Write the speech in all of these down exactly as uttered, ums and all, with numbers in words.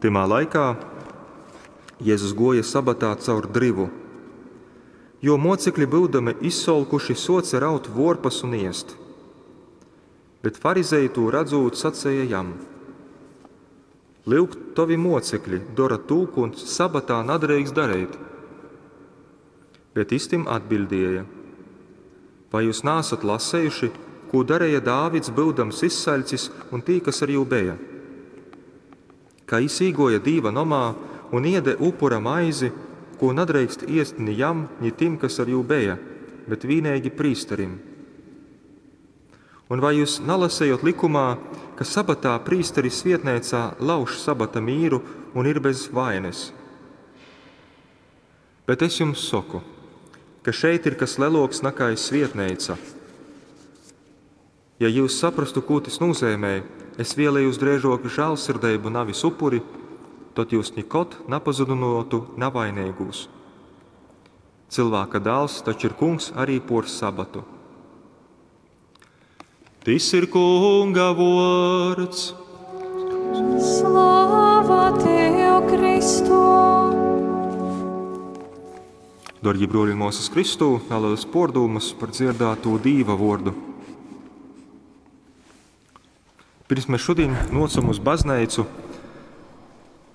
Tymā laikā Jezus guoja sabatā caur dryvu. Juo muocekļi, byudami izsolkuši, suoce raut vuorpas un iest. Bet farizeji, tū radzūt, saceja jam: Lyuk, tovi muocekļi dora tū, kū sabatā nadreikst dareit. Bet jis tim atbiļdēja: Vai jūs naasat lasejuši, kū dareja Dāvids, byudams izsaļcis, un tī, kas ar jū beja? Kā jis īguoja Dīva nomā un iede upura maizi, kū nadreikst iest ni jam, ni tim, kas ar jū beja, bet vīneigi prīsterim. Un vai jūs nalasejot likumā, ka sabatā prīsteri svietneicā lauž sabata mīru un ir bez vaines? Bet es jums soku, ka šeit ir kas leloks nakai svietneica. Ja jūs saprastu, kū tys nūzeimē, es vēlējos dreižok žālsirdeibu, navis upuri, tod jūs nikod napazudynuotu navainīgūs. Cilvēka dāls taču ir kungs arī por sabatu. Tys ir Kunga vuords. Slava Tev, Kristu! Dārgie bruoli un māsas Kristū, nelielas pordūmas par dzirdēto Dīva vordu. Pirms mēs šodien nocam uz baznīcu,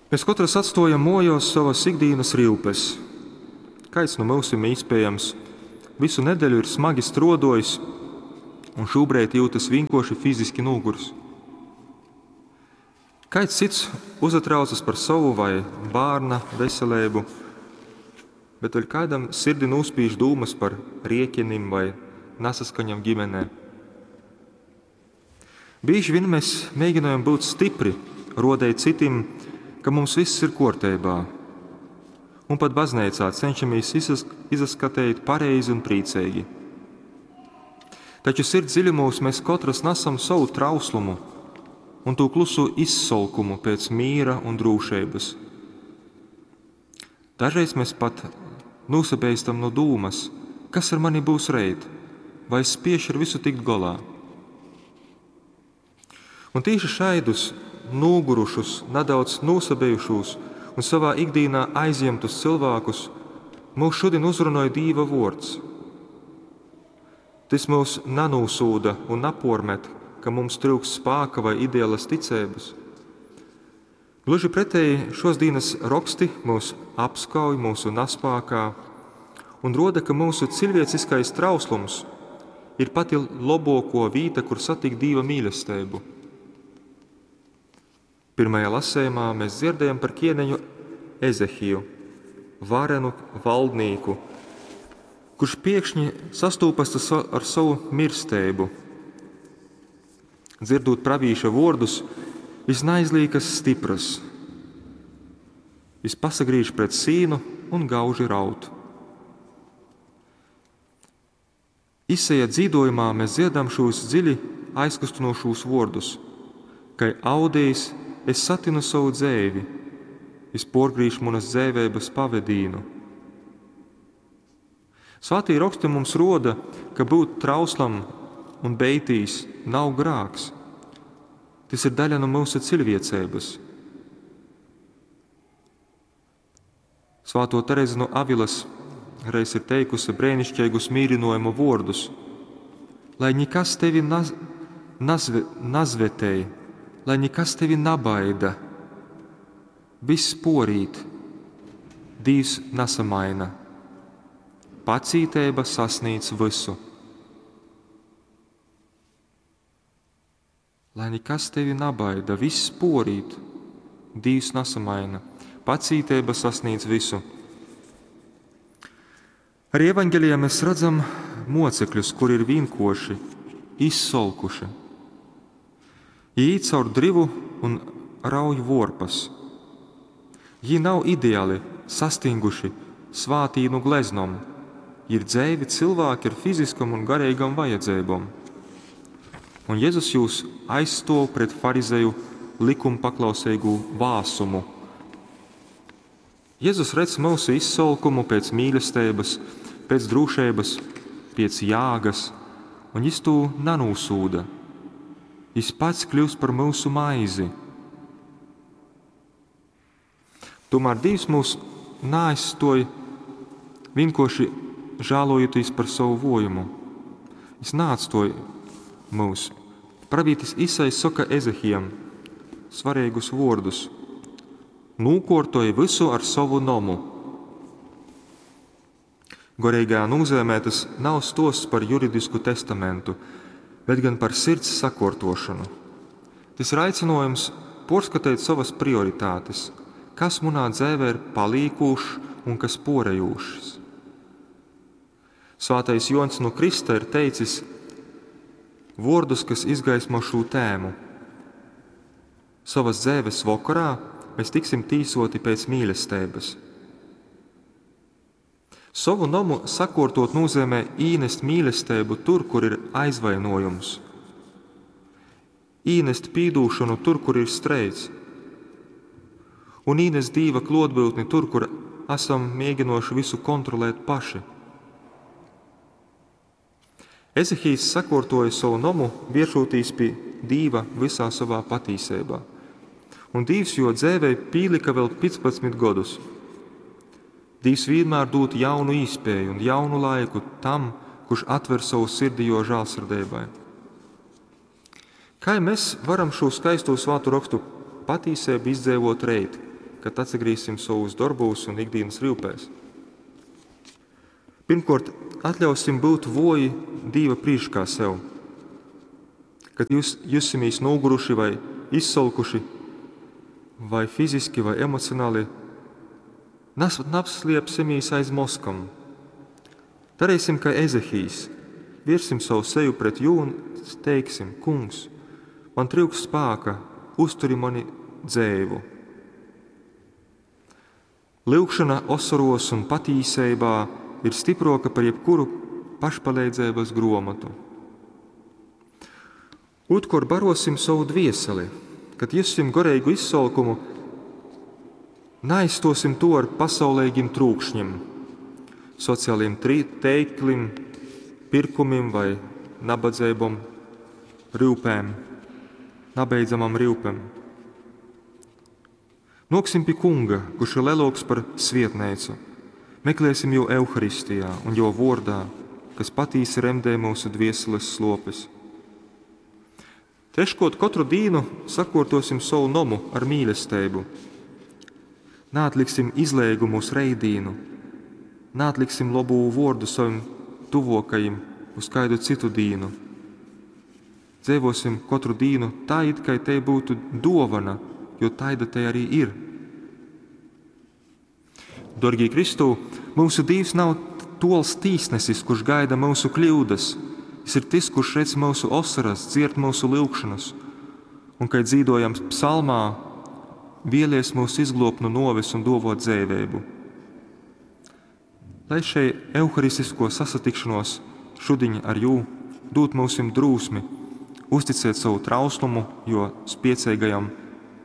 mēs katrs atstojam mojos savas ikdienas ryupes. Kāds no mūsim iespējams visu nedēļu ir smagi strodojis un šobrīd jūtas vienkārši fiziski nogurs. Kāds cits uzatraucas par savu vai bērna veselību, bet vēl kādam sirdi nūspīž dūmas par rieķinim vai nesaskaņam ģimenē. Bieži vien mēs mēģinājam būt stipri, rodēt citiem, ka mums viss ir kārtībā. Un pat baznīcā cenšamies izas izaskatīt pareizi un priecīgi. Taču sirds dziļumos mēs katrs nesam savu trauslumu un to klusu izsolkumu pēc mīra un drūšības. Dažreiz mēs pat nosabeistam no dūmas, kas ar mani būs reit, vai es spiešu ar visu tikt golā. Un tieši šaidus, nogurušus, nedaudz nosabejušos un savā ikdienā aizņemtus cilvēkus mūs šodien uzrunāja Dīva vords. Tas mūs nanūsūda un napormet, ka mums trūks spāka vai ideālas ticības. Gluži pretēji šos dienas raksti mūs apskauj mūsu naspākā un roda, ka mūsu cilvēciskais trauslums ir pati labāko vīta, kur satikt Dīva mīlestību. Pirmajā lasējumā mēs dzirdējam par ķieneņu Ezehiju, varenu valdnīku, kurš pēkšņi sastūpas ar savu mirsteibu. Dzirdot pravīša vārdus, viņš neizlīkas stipras. Viņš pasagrīž pret sīnu un gauži raut. Iseja dzīdojumā mēs dziedam šos dziļi aizkustinošos vārdus, kai audējs es satinu savu dzēvi, es porgrīšu manas dzēvēbas pavedīnu. Svētī raksti mums roda, ka būt trauslam un beitīs nav grāks. Tas ir daļa no mūsu cilvēcības. Svāto Terezi no Avilas reiz ir teikusi brēnišķīgus mīrinojumu vārdus: Lai nekas tevi naz, nazve, nazvetēj, lai nekas tevi nabaida, viss porīt, Dīvs nesamaina. Pacītēba sasniedz visu. Lai nekas tevi nabaida, viss porīt, Dīvs nesamaina. Pacītēba sasniedz visu. Arī evaņģelijā mēs redzam mocekļus, kuri ir vienkoši, izsolkuši. Viņi īt caur drivu un rauj vorpas. Viņi nav ideāli, sastinguši, svātīnu gleznom. Viņi ir dzēvi cilvēki ar fiziskam un garīgam vajadzībām. Un Jēzus jūs aizstov pret farizeju likumpaklausīgu vāsumu. Jēzus redz mūsu izsolkumu pēc mīlestības, pēc drošības, pēc jāgas, un jis to nenūsūda. Jis pats kļūst par mūsu maizi. Tomēr Dievs mūs naaizstoj vienkārši žālojotīs par savu vojumu. Viņš neatstoj mūs. Pravītis Isajs soka Ezehijam svarīgus vārdus. Nūkortoj visu ar savu nomu. Gorīgā nozīmē tas nav stosts par juridisku testamentu, bet gan par sirds sakortošanu. Tas ir aicinājums porskatīt savas prioritātes, kas munā dzēvē ir palīkūšs un kas porejūšs. Svātais Jons no Krista ir teicis vārdus, kas izgaismo šo tēmu. Savas dzēves vakarā mēs tiksim tīsoti pēc mīlestības. Savu nomu sakortot nozīmē īnest mīlestību tur, kur ir aizvainojums, īnest pīdūšanu tur, kur ir streids, un īnest Dīva klotbūtni tur, kur esam mēģinoši visu kontrolēt paši. Ezehijs sakortoja savu nomu, vēršoties pie Dīva visā savā patīsībā. Un Dīvs jo dzēvei pīlika vēl piecpadsmit gadus. Dīvs vienmēr dod jaunu īspēju un jaunu laiku tam, kurš atver savu sirdi jo žālsirdībai. Kā mēs varam šo skaisto svātu rakstu patīsību izdzīvot reit, kad atsagrīsim savus darbus un ikdienas rūpēs? Pirmkārt, atļausim būt voji Dīva prīškā sev. Kad jūs jusimies noguruši vai izsolkuši, vai fiziski, vai emocionāli, napsliepsimies aiz moskam. Darīsim, kā Ezehijs, viersim savu seju pret jū un teiksim: Kungs, man trūks spēka, uzturi mani dzēvu. Lūgšana osoros un patīsībā ir stiproka par jebkuru pašpalīdzības gromatu. Otrkārt, barosim savu dvieseli, kad jussim gorīgu izsolkumu, neaizstosim to ar pasaulīgiem trūkšņiem, sociāliem teikliem, pirkumiem vai nabadzībom, rūpēm, nabeidzamam rūpēm. Noksim pie kunga, kurš ir lielāks par svietneicu. Meklēsim jo Euharistijā un jo vordā, kas patīsi remdē mūsu dvieseles slopes. Treškot, katru dīnu sakortosim savu nomu ar mīlestību. Neatliksim izlēgumu uz reidīnu, neatliksim labu vordu savim tuvokajim uz kādu citu dīnu. Dzīvosim katru dīnu tā, it kā te būtu dovana, jo taida te arī ir. Dorgī Kristū, mūsu Dievs nav tols tīsnesis, kurš gaida mūsu kļūdas. Jis ir tas, kurš redz mūsu osaras, dzird mūsu lūgšanas. Un, kad dzīvojam psalmā, vielies mūs izglobt no noves un dovot dzēvēbu. Lai šai euharistisko sasatikšanos šudiņ ar jū dot mūsim drūsmi, uzticēt savu trauslumu, jo spiecīgajam,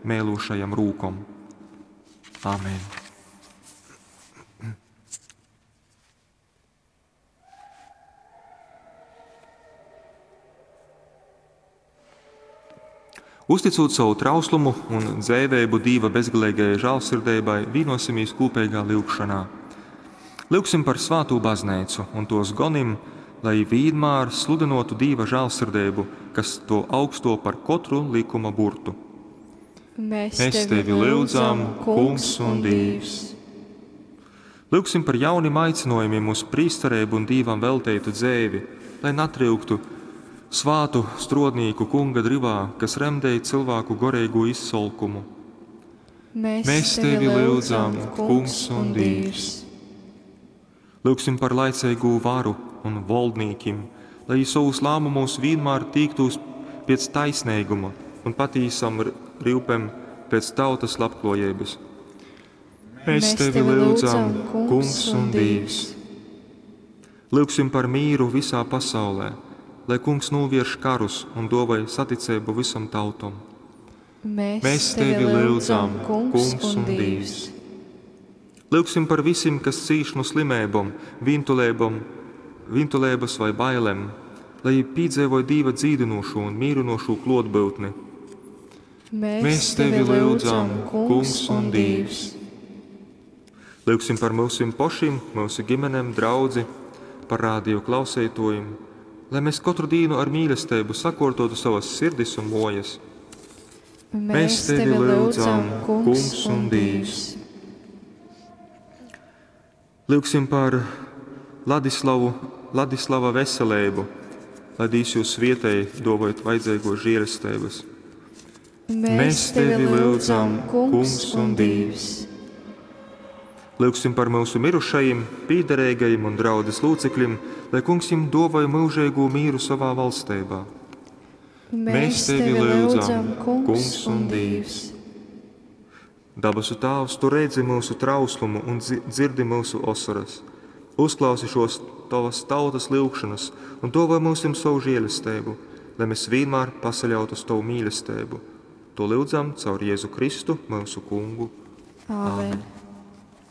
mēlūšajam rūkom. Āmen. Uzticot savu trauslumu un dzēvēbu Dīva bezgalīgajai žālsirdībai, vienosimies kopīgā lūgšanā. Lūgsim par svāto baznīcu un tos gonim, lai vienmēr sludinotu Dīva žālsirdību, kas to augsto par katru likuma burtu. Mēs, Mēs tevi lūdzam, Kungs un Dievs. Lūgsim par jauniem aicinājumiem uz prīsterību un Dīvam veltītu dzēvi, lai natryuktu svātu strodnīku kunga drivā, kas remdēja cilvēku gorīgo izsolkumu. Mēs, Mēs tevi lūdzam, Kungs un Dievs. Lūgsim par laicīgo varu un valdnīkim, lai savus lēmumus vienmēr tīktos pēc taisnīguma un patīsam rūpēm pēc tautas labklājības. Mēs tevi lūdzam, Kungs un Dievs. Lūgsim par mīru visā pasaulē, lai Kungs novērš karus un dovai saticību visam tautom. Mēs, Mēs tevi lūdzam, Kungs un Dievs. Lūgsim par visiem, kas cīš no slimībām, vīntulībām, vīntulības vai bailēm, lai piedzīvoja Dieva dzīdinošo un mīrinošo klotbūtni. Mēs, Mēs tevi lūdzam, Kungs un Dievs. Lyugsim par myusim pošim, myusu ģimenem, draudzi, par radio klauseitōjim, lai mēs kotru dīnu ar mīlesteibu sakortotu savas sirdis un mojas. Mēs tevi lyudzam, Kungs un Dīvs. Lyugsim par Ladislavu, Ladislava veseleibu, lai Dīvs jūs svietej, dovojot vajadzīgos žēlestības. Mēs tevi lyudzam, Kungs un Dīvs. Lyugsim par mūsu mirušajiem, pīderīgajiem un draudzes locekļiem, lai Kungs viņiem dāvāja mūžīgo mīru savā valstībā. Mēs tevi lyudzam, Kungs un Dīvs. Dabasu Tāvs, tu redzi mūsu trauslumu un dzirdi mūsu osaras. Uzklausi šos tavas tautas lyugšanas un dāvā mums savu žēlastību, lai mēs vienmēr pasaļautu uz tavu mīlestību. To lyudzam caur Jēzu Kristu, mūsu Kungu. Āmen.